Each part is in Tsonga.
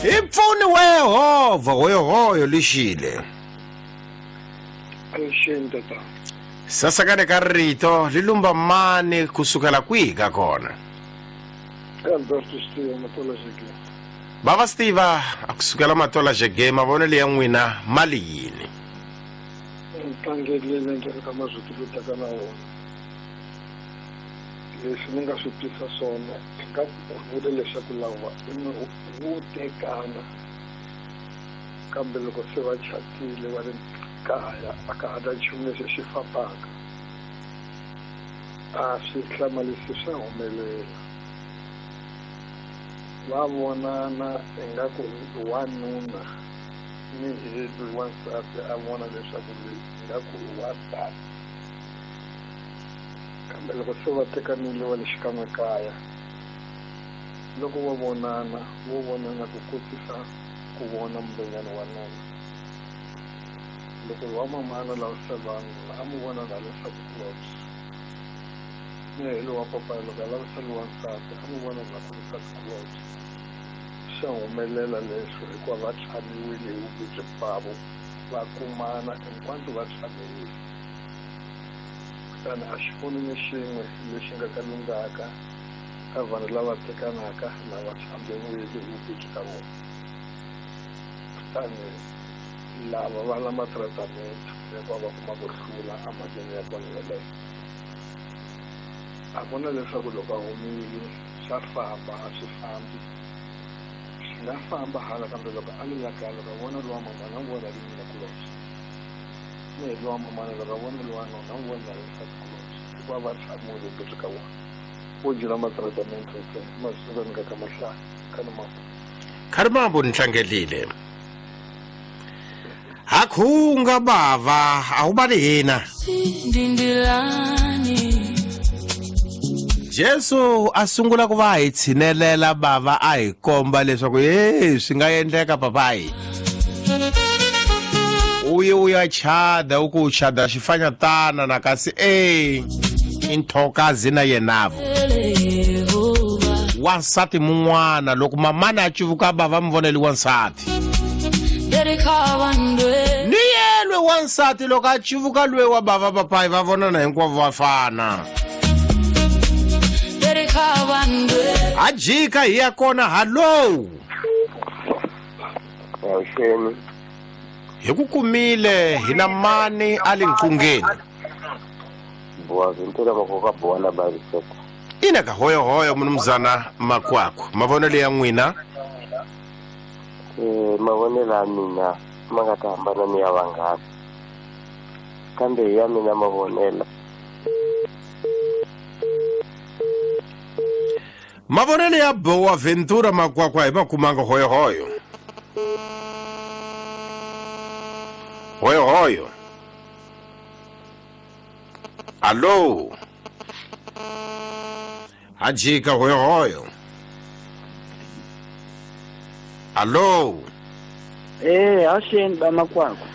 Hi pfuni wa Yehovha hoyohoyo lixile. Avuxeni tata. Sasekani ka rito li lumba mani kusukela kwihi ka kona? Alberto Steve Matola Jege. Bava Steve a kusukela Matola Jege mavonelo ya n'wina mali yini? Ntlangelele ndzi ka mazwiti lo taka na wona. Leswi ni nga swi twisa swona hi nga vula leswaku lava vo tekana kambe loko se va chatile va ri kaya a ka ha na nchumu lexi xi fambaka a swi hlamarisi swa humelela va vonana ingaku wanuna ni hi loyi wansati a vona leswaku loyi ingaku i wansati kambe loko se va tekanile va le xikan'we kaya loko va vonana vo vonana ku kotisa ku vona mubenyana wa nuna loko wa mamana lavisa vanhu a mu vona na leswaku kulobye ni hi lowa papa loko a lavisa lowa nsati a mu vona na ku nsati kulobye swa humelela leswo hikuva va tshamiwile hi vuvabyi bavo va kumana hinkwanto va tshamiwile kutani a xi pfuni ni xin'we lexi nga ka lunghaka ka vanhu lava tekanaka lava tshamiwile hi vuvabyi ka vona kutani lava va na matratamente hikuva va kuma ku hlula emhakeni ya kona yeleyo a ku na leswaku loko a humile swa famba a swi fambi swi nga famba hala kambe loko a le la kaya loko a vona lowa mamana a n'wi vona ri nuna kulobye ni hi lowa mamana loko a vona lowa nuna a n'wi vona ri nsati kulobye hikuva va tshamuwile byi ka vona vo dyela matratamente ntsena masiku ni nga ka mahlaya ka ni mambo Kharimambo ni tlangelile hakhunga bava awubali hina Jesu a sungula ku va hi tshinelela bava a hi komba leswaku ye swi nga endleka papayi u ye u ya chada u ku u chada xifanyatana na kasi e i nthokazi na yenavo wansati mun'wana loko mamana a civuka bava mi voneli wansati ni yelwe wansati loko a civuka lwe wa bava papayi va vonana hinkwavo va fana ha jika hi ya kona hallo Avuxeni. Hi ku kumile hi na mani a le nqungeni. Bowa Ventura Makoka Bowa na Bariseta. Ina ka hoyohoyo mnumzana Makwakwa. Mavonelo ya n'wina? Eh, mavonelo ya mina ma nga ta hambana ni ya vanghana. Kambe hi ya mina mavonelo. Mavonelo ya Bowa Ventura Makwakwa hi makumanga hoyohoyo. Hoyohoyo. Allo. Hajika hoyohoyo. Allo. Eh, avuxeni ba Makwakwa.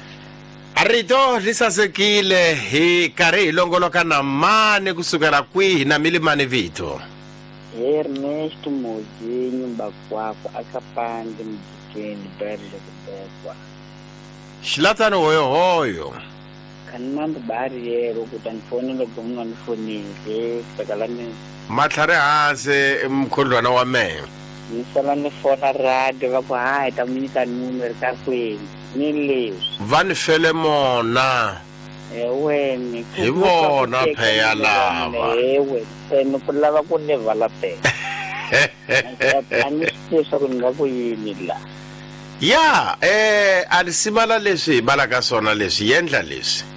A rito ri sasekile hi karhi hi longoloka na mani kusukela kwihi na milimani vito. Ernesto Mozinho Bakwakwa akapande mjikeni bari lekubekwa. Xilatani hoyohoyo. Khanimambi bari yero kuti andifonele gomnga ndifonile kusakala ni Matlhari hansi mkhondlwana wa mehe. ni sala ni fona radio va ku hayi ta mu nyika numero ri ka kwini ni leswi. Va ni fele mona. Eweni Hi vona pheya lava. Ewe ene ku lava ku ni vala phe. A ni swi tivi swa ku ni nga ku yini la. Ya, a ni simala leswi hi balaka swona leswi yendla leswi.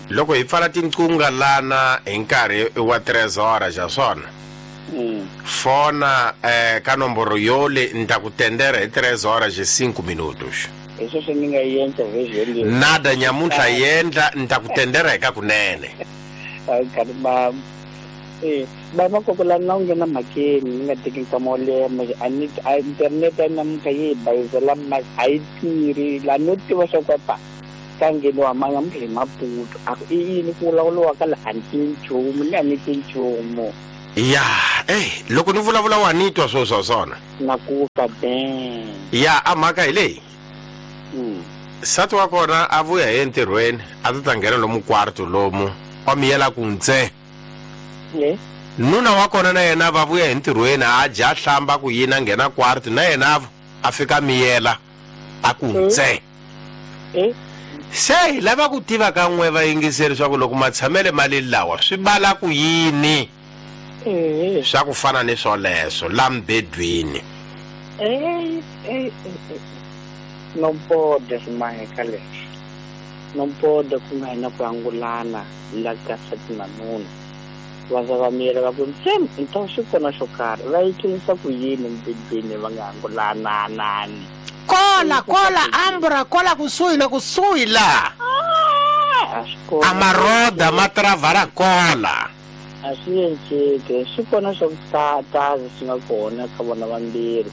Loko hi pfala tinqunga lana hi nkarhi wa 3 hora xa swona. Fona ka nomboro yole ni ta ku tendera hi 3 horas e 5 minutos. Hi sweswo ni nga yendla version leyi. Nada nyamuntlha yendla ni ta ku tendera hi ka kunene. Hayi khani ba ba Makoko la na u nghena mhakeni ni nga teki nkama wo leha manje a ni a internet ya namuntlha yi hi bayizela ma a yi tirhi la no tiva swa ku pa ka ngheniwa ma namuntlha hi Maputo a ku i yini ku vulavuriwaka la a ni tivi nchumu ni a ni tivi nchumu. Ya, Loko ni vulavula wa ni twa swo swa swona. Na ku twa ben. Ya a mhaka hi leyi. Nsati wa kona a vuya hi entirhweni a ta nghena lomu kwarto lomu wa miyela ku ntse. Nuna wa kona na yena va vuya hi ntirhweni a dya hlamba ku yini a nghena kwarto na yena a fika miyela a ku ntse. Se hi lava ku tiva ka n'we vayingiseri swa ku loko matshamele mali lawa swi bala ku yini swa ku fana ni swoleswo la mbedweni. Nompoda swimaheka leswi nompoda ku nga hina ku angulana la ka nsati na nuna va za va miyela va ku ntsem nto swi kona xo karhi va yi tlherisa ku yini mbedweni va nga angulananani. Kola kola ambra kola kusuhi na kusuhi la a maroda ma travala kola a swi enceke swi kona swa ku tazi swi nga kona ka vona vambirhi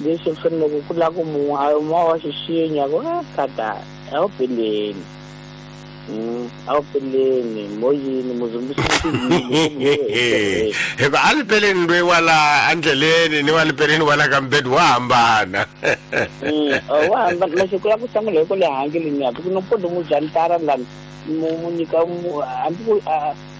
leswi faneleke ku lava ku munhu a wa xixinya ku kata a wu peleni a wu peleni moyini muzumbisini hikuva a li peleni loyi wa la endleleni ni wa li peleni wa la ka mbedi wa hambana. Wa hambana masiku ya ku sangula hi ku le hangeleni ya ku nopodo mu jantara lani mu nyika hambi ku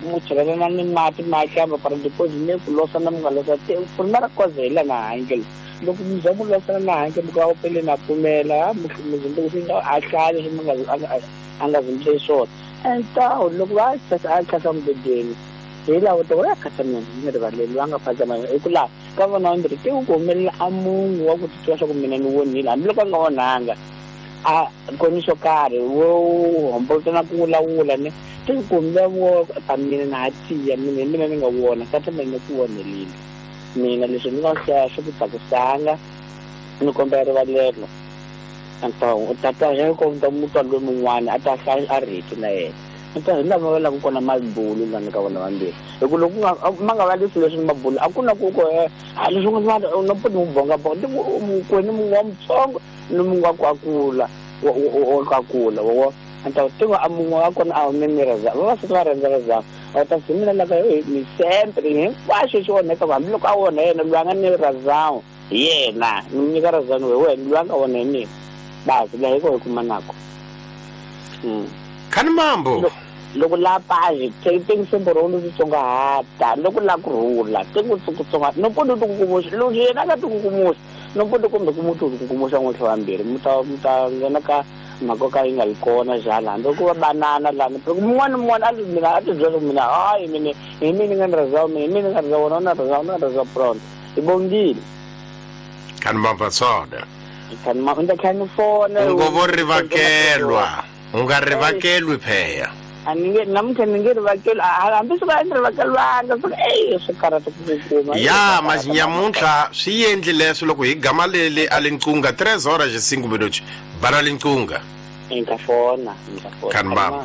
mu chelelana ni mati ma hlamba para deposit ne ku losana mu nga losa primera cause hi la na hangelo loko mu za mu losana na hangelo ku a wu peleni a pfumela muzumbisi a hlaya leswi mi nga a nga zimbise swona entawu loko va a tlhasa mubedweni hi laha ta ya khata mina ni rivaleli va nga phazama hi ku laha ka vona vambirhi te ku humelela a munhu wa ku titwa swa ku mina ni vonile hambiloko a nga onhanga a koni xo karhi wo hombolota na ku vulavula ne te ku humelela wo ta mina na ha tiya mina hi mina ni nga vona kata mina ni ku vonelile mina leswi ni nga hlaya swi ku tsakisanga ni kombela rivalelo. Anto tata ya ko ta mutwa loyi mun'wana a ta hlaya a rheti na yena anta hi lava va lava kona mabulu lani ka vona vambirhi hi ku loko ma nga va leswi leswi mabulu a ku na ku ko a leswi nga na poti mu bonga bonga ku ni mun'we wa mutsongo ni mun'we wa ku akula wa ku akula wa anta tiva a mun'we wa kona a hume ni reza vavasati va rhandza razama a ta zimela laka ni sempre hinkwaswo xi onheka hambiloko a onha yena loyi a nga ni razama yena ni nyika razama hi wena loyi a nga onha hi mina basi la hiko hi kuma nako. Khani mambo loko la paji tengise mboro lu tsongahata loko la ku rhula tengu tsonga no podo ku kumuxa loko yena ka ku kumuxa no podo kumbe ku mutu ku kumuxa n'we vambirhi muta nghena ka mhaka ka yi nga yi kona jala hambi ku va banana lani mun'wana mun'wana a mina a ti byela mina hayi mina hi mina nga ni rhandza mina hi mina nga rhandza wona na rhandza na rhandza brown hi bongile. Khani mambo tsona khani mambo nda khani fona ngo rivakelwa u nga rivakelwi pheya a ni nge namuntlha ni nge rivakelwi hambi swi va ni rivakelwanga swi swi karhata ku kuma ya mazinyamuntlha swi endli leswo loko hi gama leli a linqunga 3 horas e 5 minutos bana linqunga nka fona khani mambo.